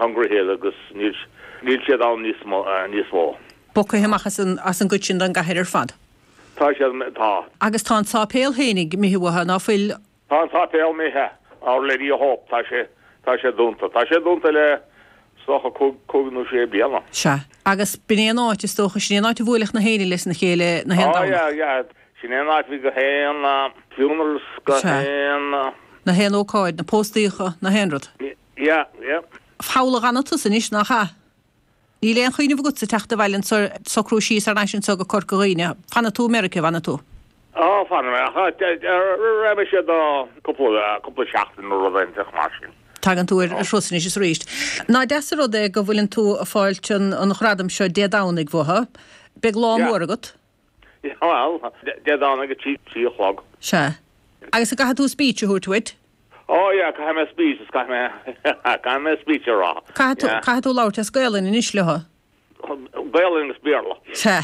Hungry Hill agus níl níl siad ann níos mó níos mó. Bogtha amach as an as an gcuid sin den gcathair ar fad. Tá siad, tá. Agus tá an sáipéal fhéinig imithe uathu, ná fuil? Tá an sáipéal imithe, Our Lady of Hope, tá sé, tá sé dúnta. Tá sé dúnta le, is dócha, cúig, cúig nó sé bliana. Sea. Agus b'in é an áit, is dócha, sin é an áit a bhuailfeadh na héinne leis na chéile na haon Domhnach. Oh yeah, yeah. Sin é an áit a bhí gach aon funerals, gach aon. Na haon ócáid, na póstaíocha, na haon rud. Yeah, yeah. Thall a dh'fhanfaidh tusa anois, nach ea? Níl aon chuimhneamh agatsa teacht abhaile anso, socrú síos thar n-ais anso go Corca Dhuibhne. Fanfaidh tú i Meiriceá, fanfaidh tú. Ó, fanfaidh mé, ach raghaidh mise do cúpla, cúpla seachtain nó rud inteacht mar sin. Tagann tú ar thuras anois is arís. Nach deas an rud é go bhfuileann tú ag fáilt an ghradaim seo Dé Domhnaigh uathu. Beidh lá mór agat. Yeah, bhuel, Dé Domhnaigh ag a 3 a chlog. Sea. Agus an gcaithfidh tú speech a thabhairt uait? Oh yeah, caithfidh mé speech, is caithfidh mé, caithfidh mé speech a rá. Caithfidh tú, caithfidh tú labhairt as Gaelainn anois leo. Gaelainn agus Béarla. Sea.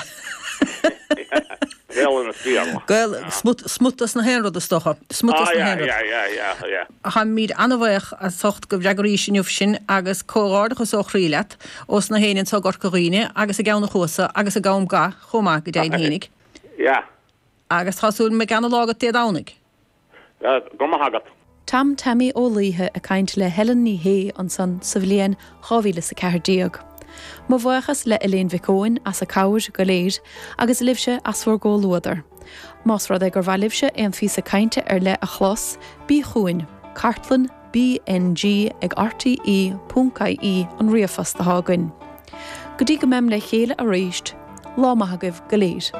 Gaelainn agus Béarla. Gael, smut, smut as na haon rud is dócha. Smut as Ah na yeah, haon rud. yeah, yeah, yeah, yeah. Táimid an-bhaoch as ucht go bhfreagraís inniu sinn agus comhghairdeachas ó chroí leat, ós na héinne anso i gCorca Dhuibhne agus i gCeann an Chuasa agus i gCam Ga chomh maith, go deimhin fhéinig. Yeah. Agus tá súil go mbeidh ana-lá agat Dé Domhnaigh. Go raibh maith agat. Tom Tammy Ó Laoithe ag caint le Helen Ní Shé ansan sa bhliain 2014. Mo bhuíochas le Elaine Mhic Eoin as a cabhair go léir agus libhse as bhur gcomhluadar. Más rud é gur mhaith libhse aon phíosa cainte ar leith a chlos, bí chugainn, cartlann BNG ag rte ponc ie an ríomhphost atá againn. Go dtí go mbeim le chéile arís, lá maith agaibh go léir.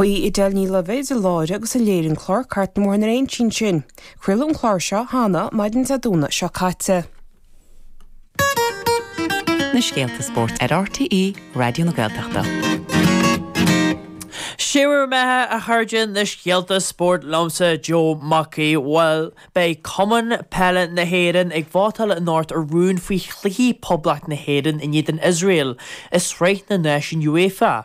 Ba í Edel Ní Loibhéad a láithrigh agus a léirigh an clár Cairt na mBóithre na Réinsí ansin. Craoladh an clár seo cheana, maidin Dé Domhnaigh seo caite. Na scéalta spóirt ar RTÉ Raidió na Gaeltachta. Sé bhur mbeatha, a chairde, na scéalta spóirt liomsa, Joe Mac Aoidh. Bhuel, beidh Cumann Peile na hÉireann ag vótáil anocht ar rún faoi chluichí Poblacht na hÉireann in éadan Iosrael i Sraith na Náisiún UEFA.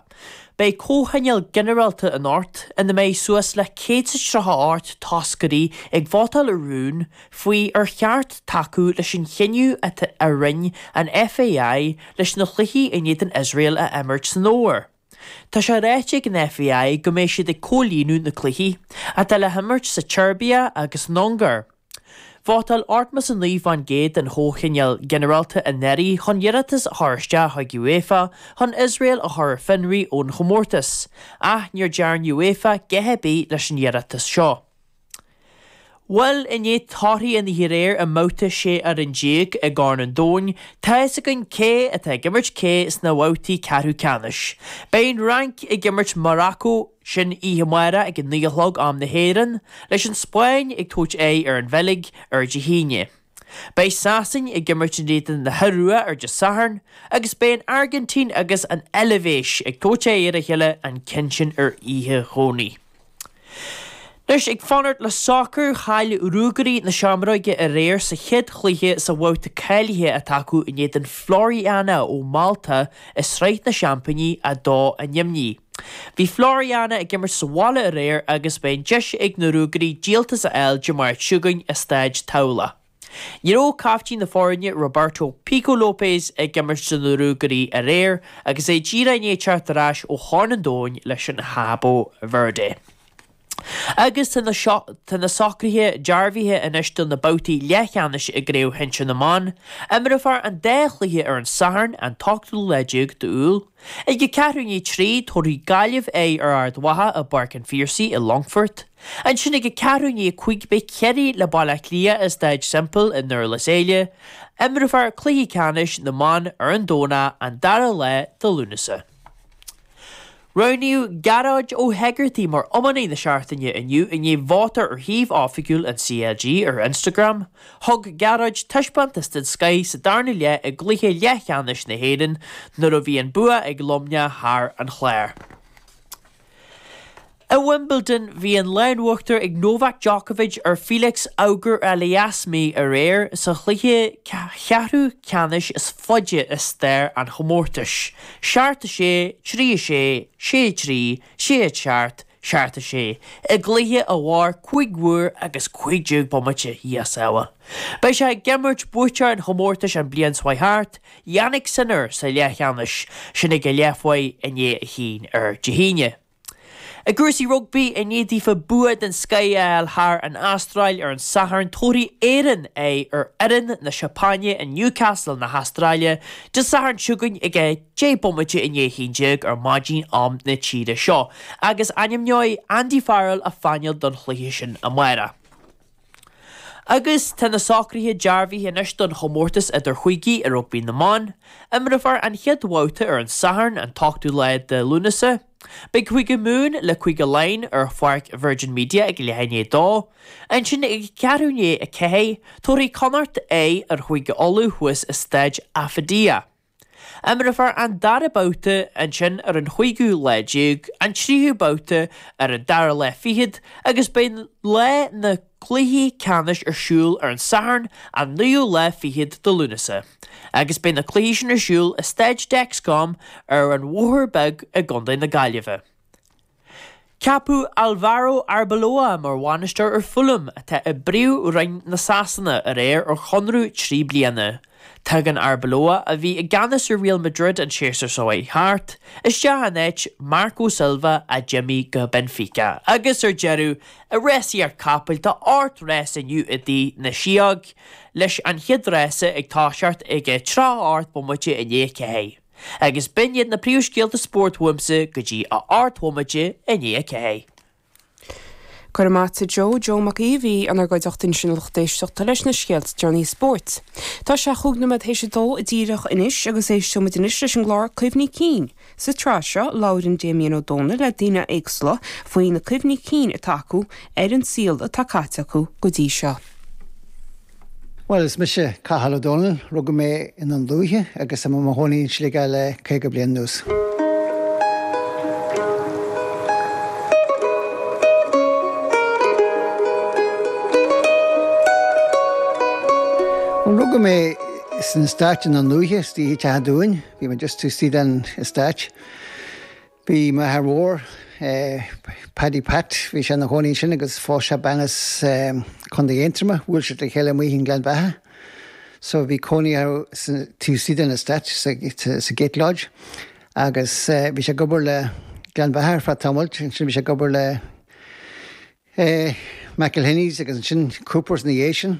Beidh comhthionól ginearálta anocht ina mbeidh suas le 138 toscairí ag vótáil ar rún faoi ar cheart tacú leis an chinneadh atá a rinne an FAI leis na cluichí in éadan Iosrael a imirt san fhómhar. Tá sé ráite ag an FAI go mbeidh siad ag comhlíonadh na cluichí, atá le himirt sa tSeirbia agus san Ungáir. Vótáil 89% den Chomhthionól Ginearálta anuraidh chun iarratas a chur isteach chuig UEFA chun Iosrael a chur ar fionraí ón chomórtas, ach níor dearn UEFA dhath ar bith leis an iarratas seo. Bhuel, i ndiaidh torthaí an oíche aréir i mbabhta 16 fhoireann i gCorn an Domhain, tá fhios againn cé atá ag imirt cé sna babhtaí ceathrú ceannais. Beidh an Fhrainc ag imirt Morocco, Sin oíche amárach ag a 9 a chlog am na hÉireann, leis an Spáinn ag tabhairt aghaidh ar an Bheilg ar Dé hAoine. Beidh Sasain ag imirt in éadan na hIorua ar Dé Sathairn agus beidh an Airgintín agus an Eilvéis ag tabhairt aghaidh ar a chéile an ceann sin ar oíche Dhomhnaigh. Anois, ag fanacht le sacar, chaill Ruagairí na Seamróige aréir sa chéad chluiche sa bhabhta cáilithe atá acu in éadan Floriana ó Mhálta i Sraith na Seaimpíní 2 ainmnithe. Bhí Floriana ag imirt sa bhaile aréir agus beidh an deis ag na Ruagairí díoltas a fháil Dé Máirt seo chugainn i Staid Tamhlach. Ní raibh caiftín na foirne Roberto Pico Lopes ag imirt do na Ruagairí aréir agus é díreach i ndiaidh teacht ar ais ó Chorn an Domhain leis an Cabo Verde. Agus tá na tá na socruithe dearbhaithe anois do na babhtaí leathcheannais i gCraobh Shinsir na mBan. Imreofar an dá chluiche ar an Satharn, an t-ochtú lá déag d'Iúil. Ag a ceathrú i ndiaidh 3, tabharfaidh Gaillimh aghaidh ar Ard Mhacha i bPáirc an Phiarsaigh i Longfort. Ansin ag a ceathrú i ndiaidh 5 beidh Ciarraí le Baile Átha Cliath i Staid Semple i nDurlas Éile. Imreofar cluichí ceannais na mban ar an Domhnach, an dara lá de Lúnasa. Roghnaíodh Gearóid Ó hEigeartaigh mar iománaí na seachtaine inniu i ndiaidh vóta ar shuíomh oifigiúil an CLG ar Instagram. Thug Gearóid taispeántas den scoith sa darna leath i gcluiche leathcheannais na hÉireann nuair a bhí an bua ag Luimneach thar an Chlár. I Wimbledon, bhí an lá in uachtar ag Novak Djokovic ar Felix Auger-Aliassime aréir sa chluiche ceathrú ceannais is faide i stair an chomórtais, 7-6, 3-6, 6-3, 6-7, 6-5. 7, 6, i gcluiche a mhair 5 uair agus 15 bomaite, Dhia ár sábháil. Beidh sé ag imirt buaiteoir an chomórtais an bliain seo thart, Jannik Sinner, sa leathcheannais, sin ag a leathuair i ndiaidh a haon ar Dé hAoine. I gcúrsaí rugbaí, i ndiaidh daofa bua den scoith a fháil thar an Astráil ar an Satharn, tabharfaidh Éirinn aghaidh ar fhoireann na Seapáine i Newcastle na hAstráile Dé Sathairn seo chugainn ag 10 bomaite i ndiaidh 11 ar maidin am na tíre seo agus ainmneoidh Andy Farrell a phainéal don chluiche sin amárach. Agus tá na socruithe dearbhaithe anois don chomórtas idirchúigí i rugbaí na mban. Imreofar an chéad bhabhta ar an Satharn, an t-ochtú lá de Lúnasa. Beidh Cúige Mumhan le Cúige Laighean ar pháirc Virgin Media ag leath i ndiaidh a dó. Ansin ag ceathrú i ndiaidh a ceathair, tabharfaidh Connacht aghaidh ar Chúige Uladh thuas i Staid Affidea. Imreofar an dara babhta ansin ar an chúigiú lá déag, an tríú babhta ar an dara lá fichead agus beidh lá na gcluichí ceannais ar siúl ar an Satharn an naoú lá fichead de Lúnasa agus beidh na cluichí sin ar siúl i Staid Dexcom ar an Bhóthar Beag i gContae na Gaillimhe. Ceapadh Alvaro Arbeloa mar bhainisteoir ar Fulham, atá i bPríomh-Roinn na Sasana, aréir ar chonradh 3 bliana. Tagann Arbeloa, a bhí i gceannas ar Real Madrid an séasúr seo chuaigh thart, isteach in áit Marco Silva a d'imigh go Benfica. Agus ar deireadh, i rásaíocht capaill, tá 8 rás inniu i dTigh na Sióg, leis an chéad rása ag toiseacht ag 38 bomaite i ndiaidh a 4. Agus b'in iad na príomhscéalta spóirt uaimse go dtí a 8 bhomaite i ndiaidh a 4. Go raibh maith a't a Joe, Joe Mac Aoidh a bhí inár gcuideachta ansin a lucht éisteachta leis na scéalta deireanacha spóirt. Tá sé chúig nóiméad théis a dó díreach anois agus éisteoidh muid anois leis an gclár Cuimhní Cinn. Sa tsraith seo labhraíonn Damien Ó Dónaill le daoine éagsúla faoi na cuimhní cinn atá acu ar an saol atá caite acu go dtí seo. Bhuel, is mise Cathal Ó Dónaill, rugadh mé i nDún Lúiche agus tá mé i mo chónaí in Sligeach le 50 bliain anuas. Bhuel, rugadh mé san eastát i nDún Lúiche, istigh i dTeach an Dúin, bhí mé just taobh istigh den eastát. Bhí m'athair mhór, Paddy Pat, bhí sé ina chónaí ansin agus phós sé bean as Contae Aontroma, bhuail siad le chéile amuigh i nGleann Bheatha. So bhí cónaí orthu taobh istigh den estate sa Gate Lodge agus bhí sé ag obair le Gleann Bheatha ar feadh tamaill, ansin bhí sé ag obair le McElhenney's agus ansin Coopers ina dhiaidh sin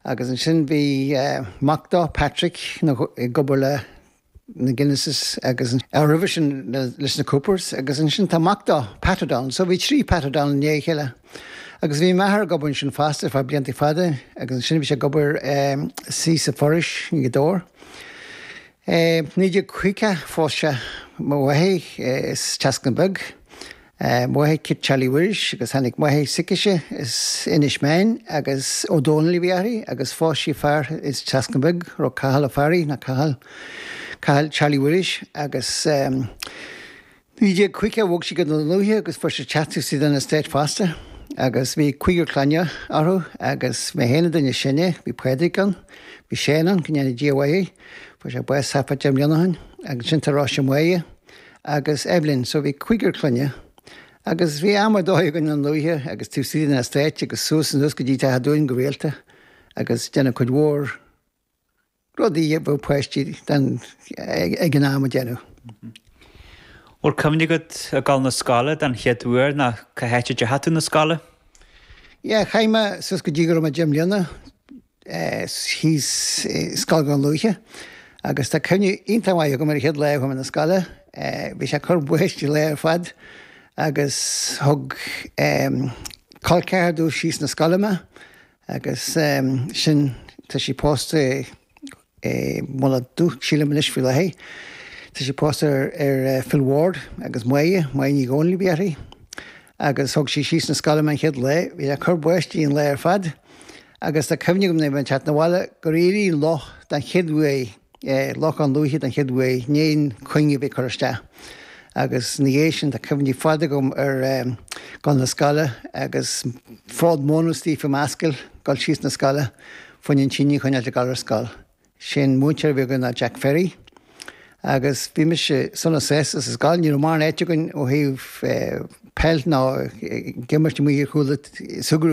agus ansin bhí mac dó, Patrick, ag obair le na Guinnesses agus roimhe sin leis na Coopers agus ansin tá mac dó, Pat O'Donnell. So bhí trí Pat O'Donnell i ndiaidh a chéile. Agus bhí m'athair ag obair ansin fosta ar feadh blianta fada agus ansin bhí sé ag obair istigh sa Forais i nGaoth Dobhair. 1950 phós sé mo mháthair as Trasna Beag. Mo mháthair Kit Charlie Mhuiris agus tháinig máthair s'aici as Inis Meáin agus Ó Dónaill a bhí uirthi agus phós sí fear as Trasna Beag a raibh Cathal Ó Fearraigh nó Cathal Cathal Charlie Mhuiris agus 1950 bhog sí go Dún Lúiche agus fuair sí teach taobh istigh den estate fosta agus bhí cúigear clainne orthu agus mé féin an duine is sine, bhí Pádraig ann, bhí Séan ann, go ndéana Dia a mhaith é, fuair sé bás thart fá deich mbliana ó shin agus ansin tá Róise Máire. agus Evelyn, so bhí cúigear clainne agus bhí am ar dóigh againn i nDún Lúiche agus taobh istigh den estate agus suas anuas go dtí Teach an Dúin go rialta agus déanamh cuid mhór rudaí a bheadh páistí den ag an am a déanamh. Bhfuil cuimhne agat ag dul na scoile den chéad uair nó cá háit a dteachaigh tú na scoile? Yeah, chaith mé suas go dtí go raibh mé deich mbliana thíos i Scoil Dhún Lúiche agus tá cuimhne iontach maith agam ar an chéad lá a chuaigh mé na scoile. Bhí sé ag cur báistí an lá ar fad agus thug col ceathar domh síos na scoile mé agus sin tá sí pósta i Mullach Dubh, sílim anois faoi láthair. Tá sí pósta ar Phil Ward agus Máire, Máire Ní Dhomhnaill a bhí uirthi. Agus thug sí síos na scoile mé an chéad lá. Bhí sé ag cur báistí an lá ar fad agus tá cuimhne agam nuair a bhí mé ag teacht 'na bhaile gur éirigh loch den chéad uair, Loch Dhún Lúiche den chéad uair, i ndiaidh an chuing a bheith curtha isteach. Agus ina dhiaidh sin tá cuimhní fada agam ar dhul na scoile agus fód móna istigh fá m'ascaill, dul síos na scoile. Fá choinne an tine a choinneáilt ag dul ar scoil. Sé'n múinteoir a bhí againn ná Jack Ferry agus bhí mise sona sásta sa scoil. Ní raibh mórán áite againn ó thaobh. peil ná ag imirt amuigh ar chúl ag súgradh.